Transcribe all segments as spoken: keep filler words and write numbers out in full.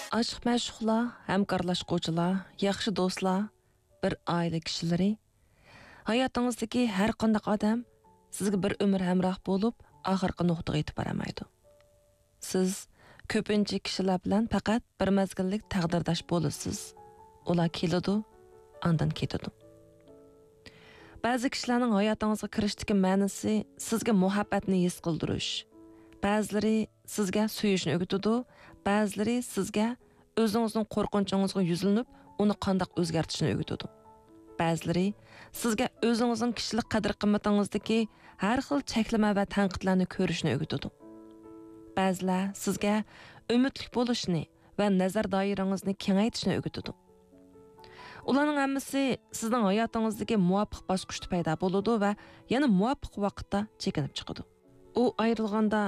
ئاشىق-مەشۇقلار، ھەمكارلاشقۇچىلار، ياخشى دوستلار، بىر ئائىلە كىشىلىرى، ھاياتىڭىزدىكى ھەر قانداق ئادەم سىزگە بىر ئۆمۈر ھەمراھ بولۇپ، ئاخىرقى نۇقتىغا يېتىپ بارالمايدۇ. سىز كۆپىنچە كىشىلەر بىلەن پەقەت بىر مەزگىللىك تەقدىرداش بولىسىز. ئۇلار كېلىدۇ، ئاندىن كېتىدۇ. بەزى كىشىلەرنىڭ ھاياتىڭىزغا كىرىشتىكى مەنىسى سىزگە مۇھەببەتنى ھېس قىلدۇرۇش. بەزىلىرى سىزگە سۆيۈشنى ئۆگىتىدۇ، بەزىلىرى سىزگە ئۆزىڭىزنىڭ قورقۇنچىڭىزغا يۈزلىنىپ، ئۇنى قانداق ئۆزگەرتىشنى ئۆگىتىدۇ. بەزىلىرى سىزگە ئۆزىڭىزنىڭ كىشىلىك قەدىر-قىممىتىڭىزدىكى ھەر خىل چەكلىمە ۋە تەنقىدلەرنى كۆرۈشنى ئۆگىتىدۇ. بەزىلەر سىزگە ئۈمىدلىك بولۇشنى ۋە نەزەر دائىرىڭىزنى كېڭەيتىشنى ئۆگىتىدۇ. ئۇلارنىڭ ھەممىسى سىزنىڭ ھاياتىڭىزدىكى مۇۋاپىق باسقۇچتا پەيدا بولىدۇ ۋە يەنە مۇۋاپىق ۋاقىتتا چېكىنىپ چىقىدۇ. ئۇ ئايرىلغاندا،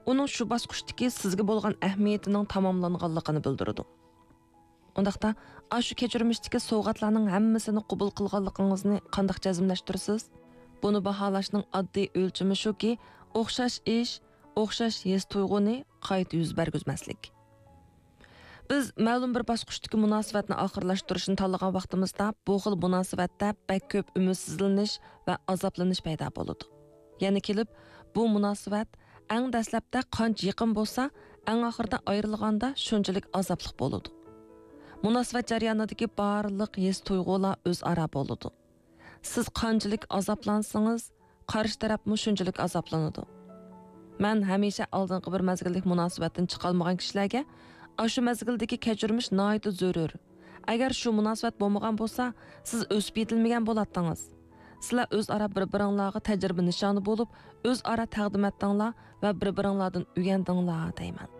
ئۇنىڭ شۇ باسقۇچتىكى سىزگە بولغان ئەھمىيىتىنىڭ تاماملانغانلىقىنى بىلدۈرىدۇ. ئۇنداقتا، ئاشۇ كەچۈرمىشتىكى سوۋغاتلارنىڭ ھەممىسىنى قوبۇل قىلغانلىقىڭىزنى قانداق جەزملەشتۈرىسىز؟ بۇنى باھالاشنىڭ ئاددىي ئۆلچىمى شۇكى، ئوخشاش ئىش، ئوخشاش ھېس-تۇيغۇنى قايتا يۈز بەرگۈزمەسلىك. بىز مەلۇم بىر باسقۇچتىكى مۇناسىۋەتنى ئاخىرلاشتۇرۇشنى تاللىغان ۋاقتىمىزدا، بۇ خىل مۇناسىۋەتتە بەك كۆپ ئۈمىدسىزلىنىش ۋە ئازابلىنىش پەيدا بولىدۇ. يەنە كېلىپ، بۇ مۇناسىۋەت ئەڭ دەسلەپتە قانچە يېقىن بولسا، ئەڭ ئاخىرىدا ئايرىلغاندا شۇنچىلىك ئازابلىق بولىدۇ. مۇناسىۋەت جەريانىدىكى بارلىق ھېس-تۇيغۇلار ئۆزئارا بولىدۇ. سىز قانچىلىك ئازابلانسىڭىز، قارشى تەرەپمۇ شۇنچىلىك ئازابلىنىدۇ. مەن ھەمىشە ئالدىنقى بىر مەزگىللىك مۇناسىۋەتتىن چىقالمىغان كىشىلەرگە، ئاشۇ مەزگىلدىكى كەچۈرمىش ناھايىتى زۆرۈر. ئەگەر شۇ مۇناسىۋەت بولمىغان بولسا، سىز ئۆسۈپ يېتىلمىگەن بولاتتىڭىز. سىلەر ئۆزئارا بىر-بىرىڭلارغا تەجرىبە نىشانى بولۇپ، ئۆزئارا تەقدىم ئەتتىڭلار ۋە بىر-بىرىڭلاردىن ئۆگەندىڭلار دەيمەن.